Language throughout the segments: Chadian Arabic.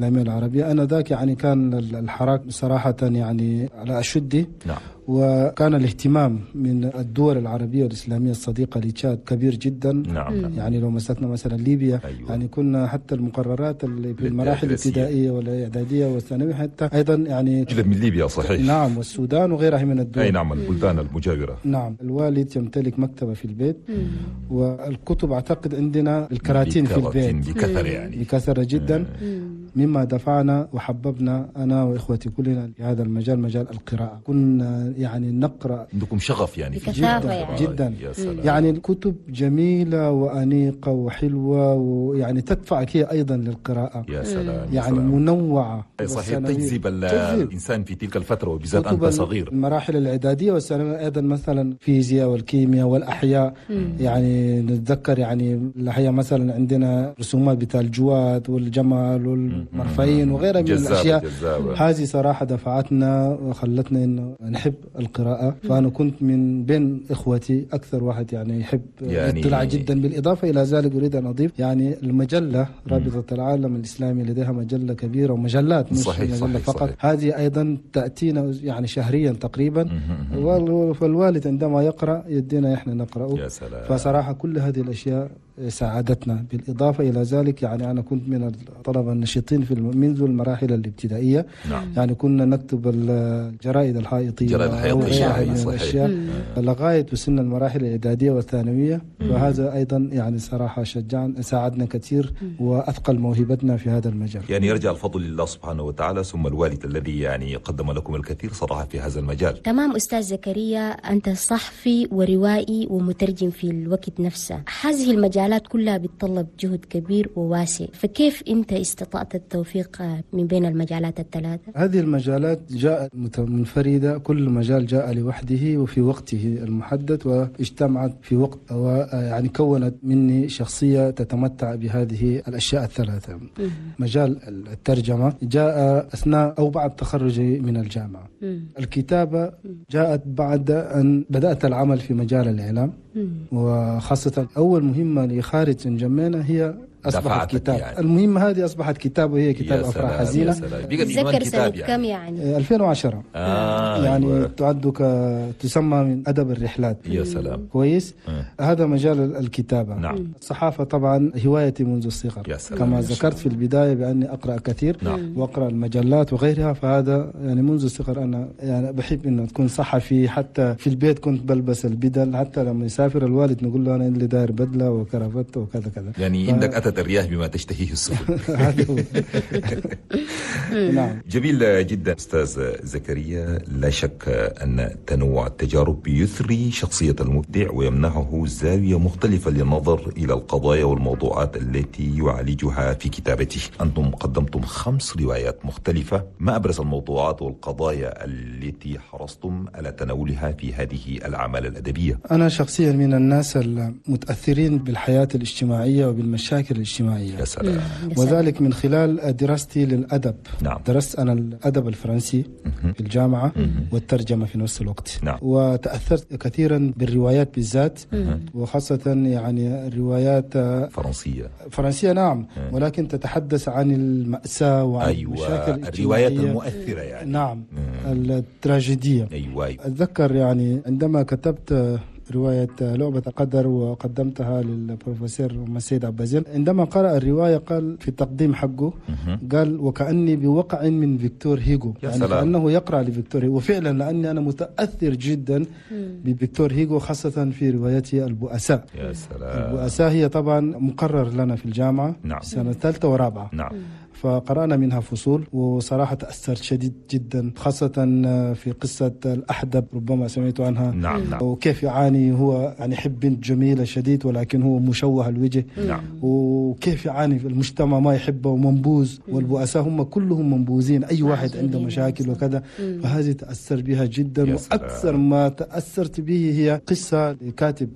الإسلامية العربية. أنا ذاك يعني كان الحراك صراحة يعني على أشده. نعم. وكان الاهتمام من الدول العربية والإسلامية الصديقة لتشاد كبير جدا. نعم. يعني لو مسكنا مثلا ليبيا، أيوة. يعني كنا حتى المقررات اللي في المراحل الابتدائية والإعدادية والثانوية حتى أيضا يعني جدا من ليبيا، صحيح. نعم، والسودان وغيرها من الدول. أي نعم، البلدان المجاورة. نعم، الوالد يمتلك مكتبة في البيت، والكتب أعتقد عندنا الكراتين في البيت بكثرة، يعني بكثرة جدا، مما دفعنا وحببنا أنا وإخوتي كلنا في هذا المجال، مجال القراءة. كنا يعني نقرأ. عندكم شغف يعني في جدا يعني. جدا. يا سلام. يعني الكتب جميلة وأنيقة وحلوة، ويعني تدفعك هي أيضا للقراءة. يا سلام. يعني منوعة. صحيح، تجذب الإنسان في تلك الفترة، وبالذات أنت صغير. المراحل الإعدادية والثانوية أيضا، مثلا الفيزياء والكيمياء والأحياء. يعني نتذكر يعني الأحياء مثلا عندنا رسومات بتاع الجواد والجمل والمرفين وغيرها من الأشياء. هذه صراحة دفعتنا وخلتنا إنه نحب القراءة. فأنا كنت من بين إخوتي أكثر واحد يعني يحب الاطلاع جدا. بالإضافة إلى ذلك أريد أن أضيف يعني المجلة رابطة العالم الإسلامي لديها مجلة كبيرة ومجلات، مش صحيح، مجلة صحيح، فقط. صحيح. هذه أيضا تأتينا يعني شهريا تقريبا، فالوالد عندما يقرأ يدينا إحنا نقرأه. يا سلام. فصراحة كل هذه الأشياء ساعدتنا. بالإضافة إلى ذلك يعني أنا كنت من الطلبة النشيطين في منذ المراحل الابتدائية. نعم. يعني كنا نكتب الجرائد الحائطية وغيرها من الأشياء لغاية وصلنا المراحل الإعدادية والثانوية. فهذا أيضا يعني صراحة شجعنا، ساعدنا كثير وأثقل موهبتنا في هذا المجال. يعني يرجع الفضل لله سبحانه وتعالى ثم الوالد الذي يعني قدم لكم الكثير صراحة في هذا المجال. تمام. أستاذ زكريا، أنت صحفي وروائي ومترجم في الوقت نفسه. هذه المجالات كلها بتطلب جهد كبير وواسع، فكيف أنت استطعت التوفيق من بين المجالات الثلاثة؟ هذه المجالات جاءت منفردة، كل مجال جاء لوحده وفي وقته المحدد، واجتمعت في وقت، ويعني كونت مني شخصية تتمتع بهذه الأشياء الثلاثة. مجال الترجمة جاء أثناء أو بعد تخرجي من الجامعة. الكتابة جاءت بعد أن بدأت العمل في مجال الإعلام، وخاصة أول مهمة لخارج انجمينا هي أصبحت كتاب يعني. المهمة هذه أصبحت كتاب، وهي كتاب أفراح حزينة. تذكر سنة كم يعني؟ 2010. يعني أيوة. تعد تسمى من أدب الرحلات. يا سلام. كويس. هذا مجال الكتابة. نعم. الصحافة طبعا هوايتي منذ الصغر. يا سلام. كما ذكرت في البداية بأني أقرأ كثير. نعم. وأقرأ المجلات وغيرها، فهذا يعني منذ الصغر أنا يعني بحب إنه تكون صحفي. حتى في البيت كنت بلبس البدل، حتى لما يسافر الوالد نقول له أنا اللي داير بدلة وكرافته وكذا كذا. يعني عندك أتت الرياح بما تشتهيه السفن. نعم. جميل جدا أستاذ زكريا. لا شك أن تنوع التجارب يثري شخصية المبدع ويمنحه زاوية مختلفة للنظر إلى القضايا والموضوعات التي يعالجها في كتابته. أنتم قدمتم 5 روايات مختلفة، ما أبرز الموضوعات والقضايا التي حرصتم على تناولها في هذه الأعمال الأدبية؟ أنا شخصيا من الناس المتأثرين بالحياة الاجتماعية وبالمشاكل الاجتماعية. يا سلام. وذلك من خلال دراستي للأدب. نعم. درست أنا الأدب الفرنسي في الجامعة والترجمة في نفس الوقت. نعم. وتأثرت كثيرا بالروايات بالذات، وخاصة يعني الروايات فرنسية. نعم. ولكن تتحدث عن المأساة وعن أيوة. المشاكل الاجتماعية، الروايات المؤثرة يعني. نعم. التراجيدية. أيوة. أتذكر يعني عندما كتبت رواية لعبة القدر وقدمتها للبروفيسور مسيد عبازين، عندما قرأ الرواية قال في التقديم حقه، قال وكأني بوقع من فيكتور هيغو، يعني كأنه يقرأ لفيكتور هيغو. وفعلا لأني أنا متأثر جدا بفيكتور هيغو، خاصة في روايته البؤساء. يا سلام. البؤساء هي طبعا مقرر لنا في الجامعة. نعم. سنة ثالثة ورابعة. نعم. فقرأنا منها فصول، وصراحة تأثرت شديد جدا، خاصة في قصة الأحدب، ربما سمعت عنها. نعم. نعم. وكيف يعاني هو، يعني يحب بنت جميلة شديد ولكن هو مشوه الوجه. نعم. وكيف يعاني في المجتمع ما يحبه ومنبوذ، والبؤساء هم كلهم منبوذين، أي واحد عنده مشاكل وكذا. فهذه تأثر بها جدا. وأكثر ما تأثرت به هي قصة لكاتب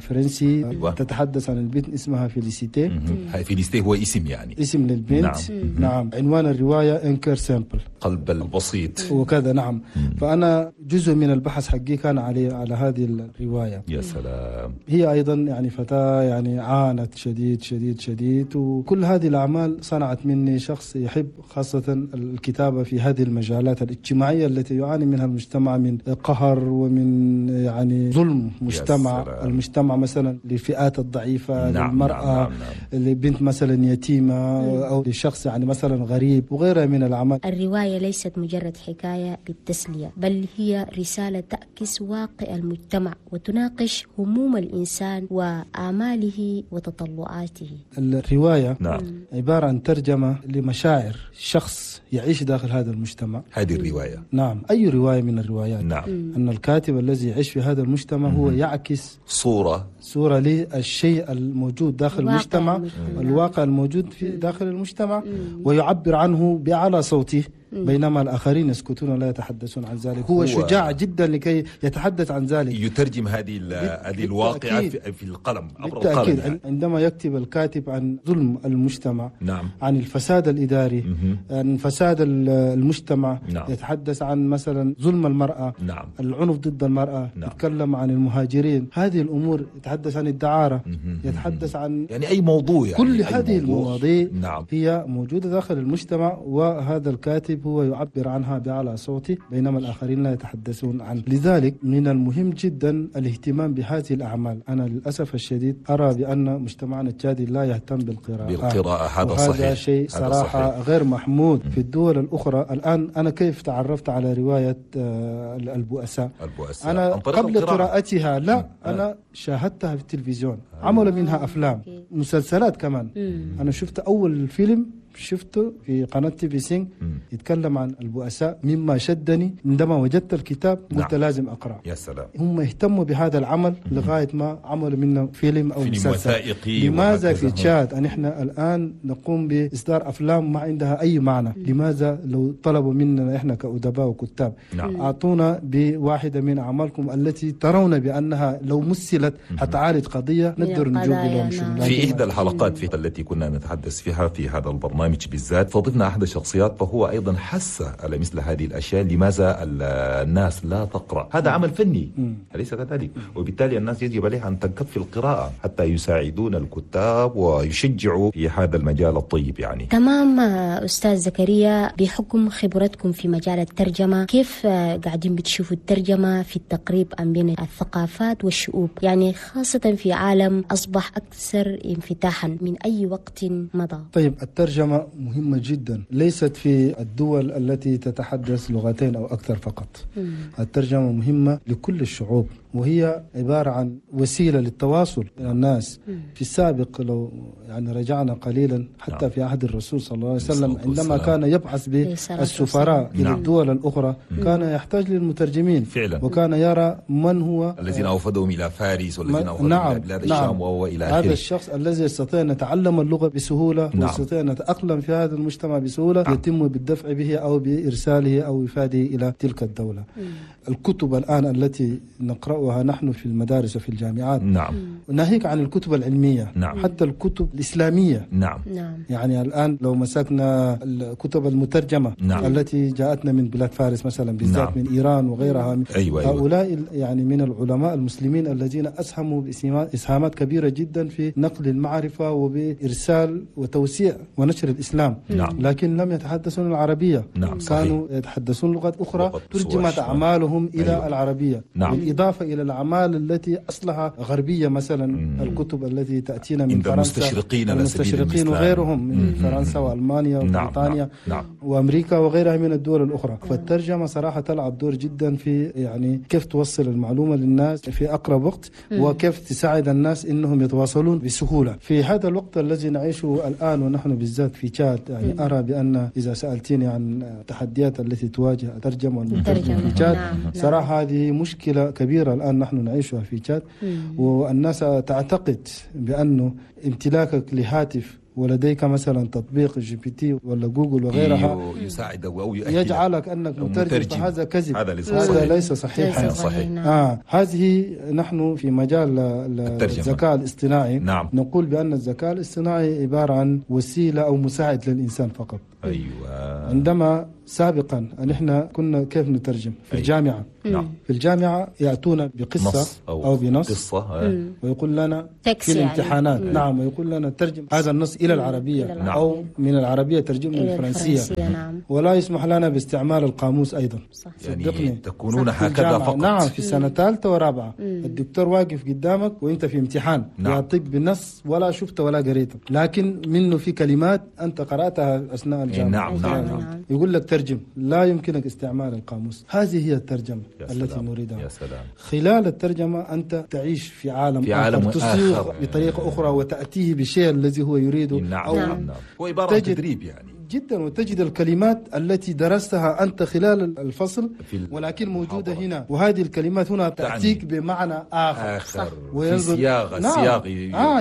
فرنسي. أيوة. تتحدث عن البنت اسمها فيليسيتي. فيليسيتي هو اسم، يعني اسم للبنت. نعم. نعم، عنوان الرواية Un cœur simple، قلب البسيط وكذا. نعم. فأنا جزء من البحث حقي كان على هذه الرواية. يا سلام. هي أيضا يعني فتاة يعني عانت شديد شديد شديد، وكل هذه الأعمال صنعت مني شخص يحب خاصة الكتابة في هذه المجالات الاجتماعية التي يعاني منها المجتمع من قهر ومن يعني ظلم مجتمع المجتمع مثلا للفئات الضعيفة. نعم، للمرأة، نعم، نعم. لبنت مثلا يتيمة أو لشخص يعني مثلا غريب وغيرها من الأعمال. الرواية ليست مجرد حكاية للتسلية، بل هي رسالة تعكس واقع المجتمع وتناقش هموم الإنسان وآماله وتطلعاته. الرواية نعم. عبارة عن ترجمة لمشاعر شخص يعيش داخل هذا المجتمع. هذه الرواية. نعم، أي رواية من الروايات. نعم. أن الكاتب الذي يعيش في هذا المجتمع هو يعكس صورة للشيء الموجود داخل المجتمع، الواقع الموجود في داخل المجتمع، ويعبر عنه بأعلى صوته، بينما الآخرين يسكتون ولا يتحدثون عن ذلك. هو شجاع جدا لكي يتحدث عن ذلك، يترجم هذه الواقعة في القلم، عبر القلم يعني. عندما يكتب الكاتب عن ظلم المجتمع، نعم. عن الفساد الإداري، عن فساد المجتمع، نعم. يتحدث عن مثلا ظلم المرأة، نعم. العنف ضد المرأة، نعم. يتكلم عن المهاجرين، هذه الأمور، يتحدث عن الدعارة، يتحدث عن يعني أي موضوع، يعني كل أي هذه موضوع. المواضيع، نعم. هي موجودة داخل المجتمع، وهذا الكاتب هو يعبر عنها بأعلى صوته بينما الآخرين لا يتحدثون عنه. لذلك من المهم جدا الاهتمام بهذه الأعمال. أنا للأسف الشديد أرى بأن مجتمعنا التشادي لا يهتم بالقراءة. هذا صحيح، هذا شيء صراحة صحيح. غير محمود. في الدول الأخرى الآن، أنا كيف تعرفت على رواية البؤساء؟ أنا قبل قراءتها لا، أنا شاهدتها في التلفزيون، عملوا منها أفلام، مسلسلات كمان. أنا شفت أول فيلم شفته في قناة TV5 يتكلم عن البؤساء، مما شدني عندما وجدت الكتاب قلت لازم أقرأ. يا سلام. هم اهتموا بهذا العمل لغاية ما عملوا منه فيلم أو مسلسل وثائقي. لماذا في تشاد أن إحنا الآن نقوم بإصدار أفلام ما عندها أي معنى؟ لماذا لو طلبوا مننا إحنا كأدباء وكتاب، نعم. أعطونا بواحدة من أعمالكم التي ترون بأنها لو مثلت حتعالج قضية نقدر نجوب لهم. في إحدى الحلقات التي كنا نتحدث فيها في هذا البرنامج بالذات فضفنا أحد الشخصيات، فهو أيضا حس على مثل هذه الأشياء، لماذا الناس لا تقرأ؟ هذا عمل فني، أليس كذلك؟ وبالتالي الناس يجب عليها أن تنكب في القراءة حتى يساعدون الكتاب ويشجعوا في هذا المجال الطيب يعني. تمام. أستاذ زكريا، بحكم خبرتكم في مجال الترجمة، كيف قاعدين بتشوفوا الترجمة في التقريب بين الثقافات والشعوب، يعني خاصة في عالم أصبح أكثر انفتاحا من أي وقت مضى؟ طيب، الترجمة مهمة جدا، ليست في الدول التي تتحدث لغتين أو أكثر فقط. الترجمة مهمة لكل الشعوب، وهي عبارة عن وسيلة للتواصل بين الناس. في السابق لو يعني رجعنا قليلا حتى نعم. في عهد الرسول صلى الله عليه وسلم، عندما كان يبعث بالسفراء إلى الدول الأخرى كان يحتاج للمترجمين فعلا، وكان يرى من هو الذين أوفدهم إلى فارس والذين أوفدهم نعم. إلى بلاد الشام نعم. وإلى آخره. هذا الشخص الذي يستطيع أن يتعلم اللغة بسهولة، نعم. ويستطيع أن يتأقلم في هذا المجتمع بسهولة، نعم. يتم بالدفع به أو بإرساله أو إفاده إلى تلك الدولة. الكتب الآن التي نقرأها نحن في المدارس وفي الجامعات، نعم. ناهيك عن الكتب العلمية، نعم. حتى الكتب الإسلامية، نعم. يعني الآن لو مسكنا الكتب المترجمة، نعم. التي جاءتنا من بلاد فارس مثلا، بالذات نعم. من إيران وغيرها، أيوة. هؤلاء يعني من العلماء المسلمين الذين أسهموا بإسهامات كبيرة جدا في نقل المعرفة وبإرسال وتوسيع ونشر الإسلام، نعم. لكن لم يتحدثون العربية، نعم. كانوا يتحدثون لغات أخرى ترجمت أعمالهم إلى أيوة. العربية، نعم. بالإضافة إلى الأعمال التي أصلها غربية، مثلا الكتب التي تأتينا من فرنسا، المستشرقين وغيرهم من فرنسا وألمانيا وبريطانيا، نعم. وأمريكا وغيرها من الدول الأخرى. فالترجمة صراحة تلعب دور جدا في يعني كيف توصل المعلومة للناس في أقرب وقت، وكيف تساعد الناس إنهم يتواصلون بسهولة في هذا الوقت الذي نعيشه الآن. ونحن بالذات في تشاد يعني أرى بأن إذا سألتني عن التحديات التي تواجه الترجمة والمترجم في تشاد، نعم. صراحة هذه مشكلة كبيرة الآن نحن نعيشها في تشاد. والناس تعتقد بأنه امتلاكك لهاتف ولديك مثلا تطبيق GPT ولا جوجل وغيرها يساعدك أو يؤهلك يجعلك أنك مترجم، فهذا كذب، هذا ليس صحيحا. صحيح. هذه نحن في مجال الذكاء الاصطناعي نعم. نقول بأن الذكاء الاصطناعي عبارة عن وسيلة أو مساعد للإنسان فقط. أيوة. عندما سابقا نحن كنا كيف نترجم في الجامعة؟ نعم. في الجامعة يأتونا بقصة أو بنص قصة. ويقول لنا في الامتحانات نعم، ويقول لنا ترجم هذا النص إلى العربية نعم. أو من العربية ترجم إلى الفرنسية. نعم. ولا يسمح لنا باستعمال القاموس أيضا. صح. يعني تكونون هكذا فقط. نعم، في سنة ثالثة ورابعة الدكتور واقف قدامك وانت في امتحان نعم. يعطيك بالنص ولا شفته ولا قريته، لكن منه في كلمات أنت قرأتها أثناء الجامعة. نعم. نعم. نعم. يقول لك ترجم، لا يمكنك استعمال القاموس. هذه هي الترجمة التي نريدها. يا سلام. خلال الترجمة أنت تعيش في عالم آخر، تصيغ بطريقة أخرى وتأتيه بالشيء الذي هو يريده. نعم. أو نعم. نعم. هو عبارة عن تدريب يعني جدا، وتجد الكلمات التي درستها أنت خلال الفصل ولكن موجودة هنا، وهذه الكلمات هنا تأتيك بمعنى آخر. وينظر في سياق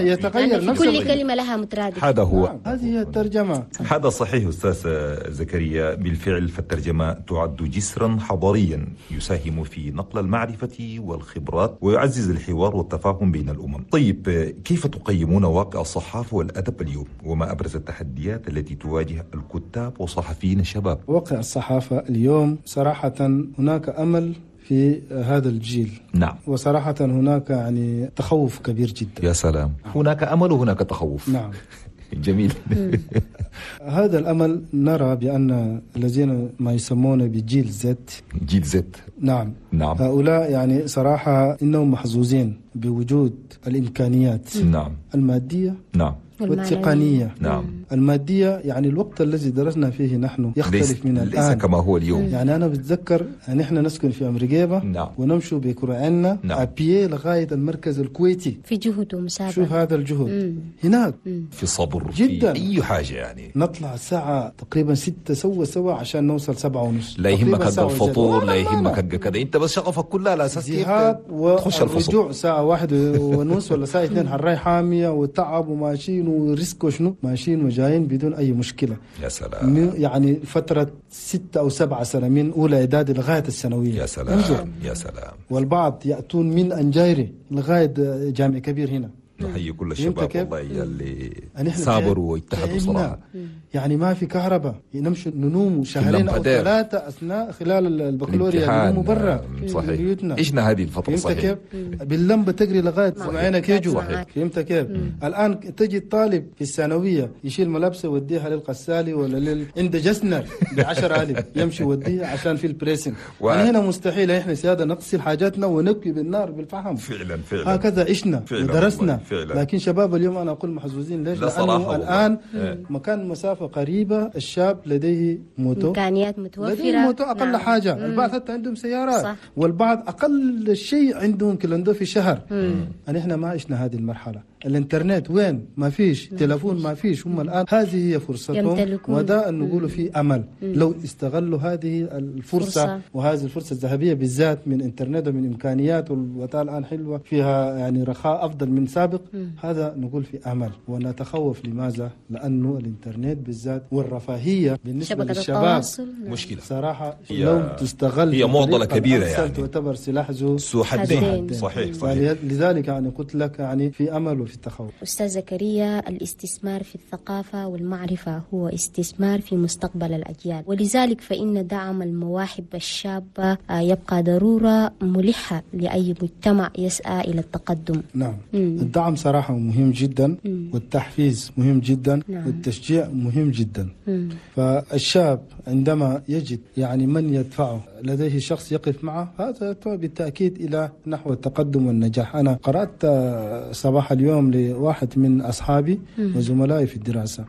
يتغير يعني نفس كل كلمة لها مترادف. هذا هو. نعم. هذه هي الترجمة. هذا صحيح أستاذ زكريا، بالفعل فالترجمة تعد جسرا حضاريا يساهم في نقل المعرفة والخبرات ويعزز الحوار والتفاهم بين الأمم. طيب، كيف تقيمون واقع الصحافة والأدب اليوم، وما أبرز التحديات التي تواجه الكتاب وصحفيين الشباب؟ واقع الصحافة اليوم صراحة هناك أمل في هذا الجيل. نعم. وصراحة هناك يعني تخوف كبير جدا. يا سلام، هناك أمل وهناك تخوف. نعم. جميل. هذا الأمل نرى بأن الذين ما يسمون بجيل زد، جيل زد، نعم نعم، هؤلاء يعني صراحة إنهم محظوظين بوجود الإمكانيات نعم. المادية نعم. والتقنية. نعم. المادية يعني الوقت الذي درسنا فيه نحن يختلف من الآن، ليس كما هو اليوم. يعني أنا بتذكر نحن نسكن في أمريكا نعم. ونمشي بكرعنا نعم. à pied لغاية المركز الكويتي، في جهد ومسافة. شوف هذا الجهد هناك، في صبر جدا، في أي حاجة يعني. نطلع الساعة تقريبا 6 سوا عشان نوصل 7:30. لا يهمك حق الفطور، لا يهمك حق كذا، أنت بس شغفك كلها على أساس كيف تخش الفصل. والرجوع الساعة 1:30 ولا الساعة 2 حراي حامية وتعب وماشيين و risk وشنو، ماشيين وجايين بدون أي مشكلة. يا سلام. يعني فترة 6 أو 7 سنة من أولى إعدادي لغاية الثانوية. يا سلام. انظر. يا سلام. والبعض يأتون من أنجيري لغاية جامع كبير هنا. نحيي كل الشباب والله اللي صابروا واجتهدوا صراحة. يعني ما في كهرباء، نمشي ننوم شهرين أو 3 أثناء خلال البكالوريا، ننوم برا صحيح. بيوتنا. عشنا هذه الفترة. صحيح. كيف؟ باللمبة تجري لغاية عينك يجوا. فهمت كيف؟ الآن تجي طالب في الثانوية يشيل ملابسه ويوديها للغسالة ولا عند جسنر ب10,000 يمشي يوديها عشان في ال pressing. يعني هنا مستحيل إحنا سيادة نغسل حاجاتنا ونكوي بالنار بالفحم. فعلا فعلا. هكذا عشنا ودرسنا. فعلا. لكن شباب اليوم أنا أقول محظوظين. ليش؟ لأنه الآن مكان مسافة قريبة، الشاب لديه moto، إمكانيات متوفرة، لديه moto أقل نعم. حاجة. البعض حتى عندهم سيارات. صح. والبعض أقل شيء عندهم clando في شهر. نحن ما عشنا هذه المرحلة. الانترنت وين؟ ما فيش، تلفون ما فيش. هم الآن هذه هي فرصتهم، وده نقول في أمل لو استغلوا هذه الفرصة، وهذه الفرصة الذهبية بالذات من انترنت ومن إمكانيات، والوطن الآن حلوة فيها يعني رخاء أفضل من سابق. هذا نقول في أمل ونتخوف. لماذا؟ لأنه الانترنت بالذات والرفاهية بالنسبة للشباب مشكلة صراحة، لو تستغل هي معضلة كبيرة يعني، تعتبر سلاح ذو حدين. صحيح صحيح. لذلك يعني قلت لك يعني في أمل وفي التخوف. أستاذ زكريا، الاستثمار في الثقافة والمعرفة هو استثمار في مستقبل الأجيال، ولذلك فإن دعم المواهب الشابة يبقى ضرورة ملحة لأي مجتمع يسعى إلى التقدم. نعم. الدعم صراحة مهم جدا، والتحفيز مهم جدا، نعم. والتشجيع مهم جدا. فالشاب عندما يجد يعني من يدفعه، لديه شخص يقف معه، هذا بالتأكيد إلى نحو التقدم والنجاح. أنا قرأت صباح اليوم لواحد من أصحابي وزملائي في الدراسة،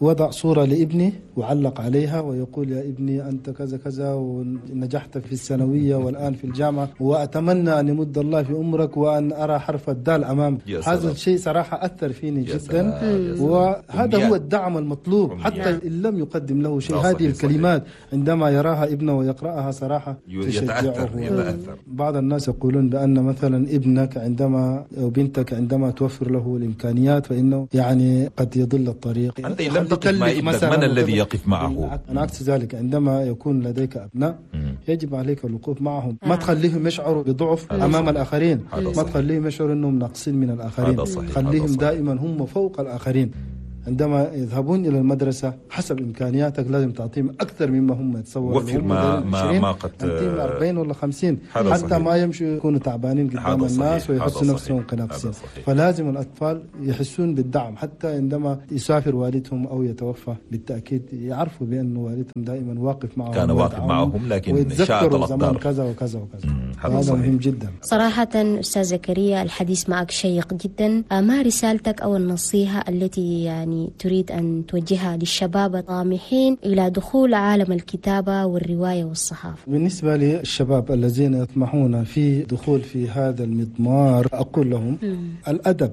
وضع صورة لابني وعلق عليها ويقول يا ابني أنت كذا كذا ونجحت في الثانوية والآن في الجامعة، وأتمنى أن يمد الله في عمرك وأن أرى حرف الدال أمامك. هذا الشيء صراحة أثر فيني جدا، وهذا هو الدعم المطلوب. حتى إن لم يقدم له شيء، هذه الكلمات الكلمات عندما يراها ابنه ويقرأها صراحة تشجعه. يتأثر. بعض الناس يقولون بأن مثلا ابنك عندما أو بنتك عندما توفر له الإمكانيات فإنه يعني قد يضل الطريق. أنت لم تقف مع ابنك، من الذي يقف معه؟ أنا عكس ذلك، عندما يكون لديك أبناء يجب عليك الوقوف معهم، ما تخليهم يشعروا بضعف أمام الآخرين، ما تخليهم يشعروا أنهم ناقصين من الآخرين، خليهم دائما هم فوق الآخرين. عندما يذهبون إلى المدرسة حسب إمكانياتك لازم تعطيهم أكثر مما هم يتصورون. وفر ما قد تعطيهم 40 ولا 50 حتى صحيح. ما يمشوا يكونوا تعبانين قدام الناس ويحسوا نفسهم كناقصين. فلازم الأطفال يحسون بالدعم حتى عندما يسافر والدهم أو يتوفى، بالتأكيد يعرفوا بأن والدهم دائما واقف معهم، كان واقف معهم، لكن شاءت الأقدار كذا وكذا وكذا. هذا مهم جدا صراحة. أستاذ زكريا، الحديث معك شيق جدا. ما رسالتك أو النصيحة التي يعني تريد أن توجهها للشباب الطامحين إلى دخول عالم الكتابة والرواية والصحافة؟ بالنسبة للشباب الذين يطمحون في دخول في هذا المضمار، أقول لهم الأدب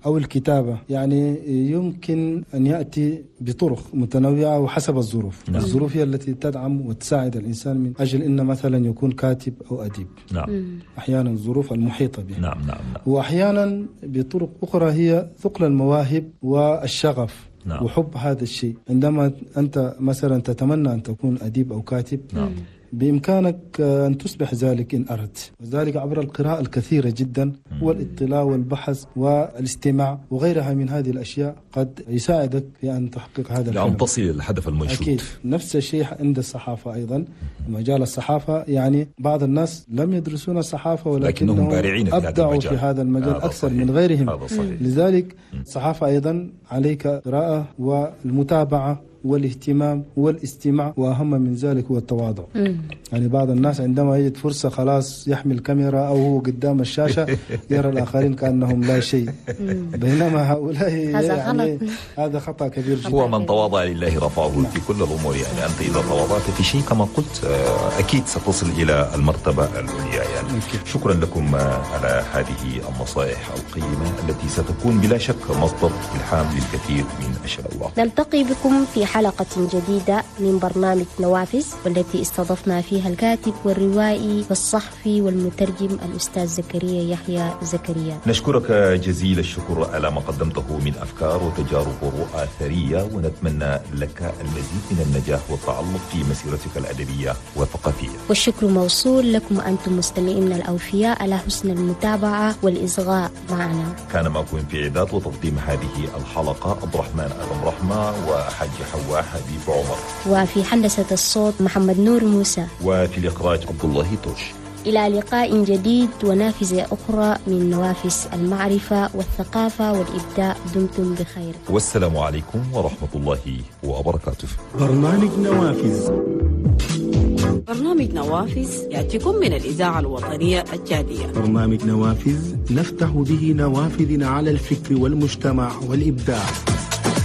أو الكتابة يعني يمكن أن يأتي بطرق متنوعة وحسب الظروف. نعم. الظروف هي التي تدعم وتساعد الإنسان من أجل أن مثلا يكون كاتب أو أديب. نعم. أحيانا الظروف المحيطة به. نعم نعم نعم. وأحيانا بطرق أخرى هي ثقل المواهب والشغف. نعم. وحب هذا الشيء. عندما أنت مثلا تتمنى أن تكون أديب أو كاتب، نعم، بإمكانك أن تصبح ذلك إن أردت، وذلك عبر القراءة الكثيرة جدا والاطلاع والبحث والاستماع وغيرها من هذه الأشياء قد يساعدك في أن تحقق هذا الحلم، لأن تصل الهدف المنشود. أكيد. نفس الشيء عند الصحافة أيضا، مجال الصحافة يعني بعض الناس لم يدرسون الصحافة ولكنهم بارعين في أبدعوا في هذا المجال أكثر من غيرهم. لذلك الصحافة أيضا عليك قراءة والمتابعة والاهتمام والاستماع، وأهم من ذلك هو التواضع. يعني بعض الناس عندما يجد فرصة خلاص يحمل كاميرا أو هو قدام الشاشة يرى الآخرين كأنهم لا شيء، بينما هؤلاء يعني هذا خطأ كبير جدا. هو من تواضع لله رفعه. نعم. في كل الأمور يعني أنت إذا تواضعت في شيء كما قلت أكيد ستصل إلى المرتبة العليا يعني. أكيد. شكرا لكم على هذه النصائح القيمة التي ستكون بلا شك مصدر إلهام للكثير من الشباب. نلتقي بكم في حلقة جديدة من برنامج نوافذ، والتي استضفنا فيها الكاتب والروائي والصحفي والمترجم الأستاذ زكريا يحيى زكريا. نشكرك جزيل الشكر على ما قدمته من أفكار وتجارب ورؤى ثرية، ونتمنى لك المزيد من النجاح والتألق في مسيرتك الأدبية والثقافية. والشكر موصول لكم أنتم مستمعين الأوفياء على حسن المتابعة والإصغاء معنا. كان معكم في إعداد وتقديم هذه الحلقة عبد الرحمن آدم رحمة وحاج حواء حبيب عمر، وفي هندسة الصوت محمد نور موسى، وفي الإخراج عبد الله توش. إلى لقاء جديد ونافذة أخرى من نوافذ المعرفة والثقافة والإبداع، دمتم بخير والسلام عليكم ورحمة الله وبركاته. برنامج نوافذ. برنامج نوافذ يأتيكم من الإذاعة الوطنية التشادية. برنامج نوافذ نفتح به نوافذ على الفكر والمجتمع والإبداع.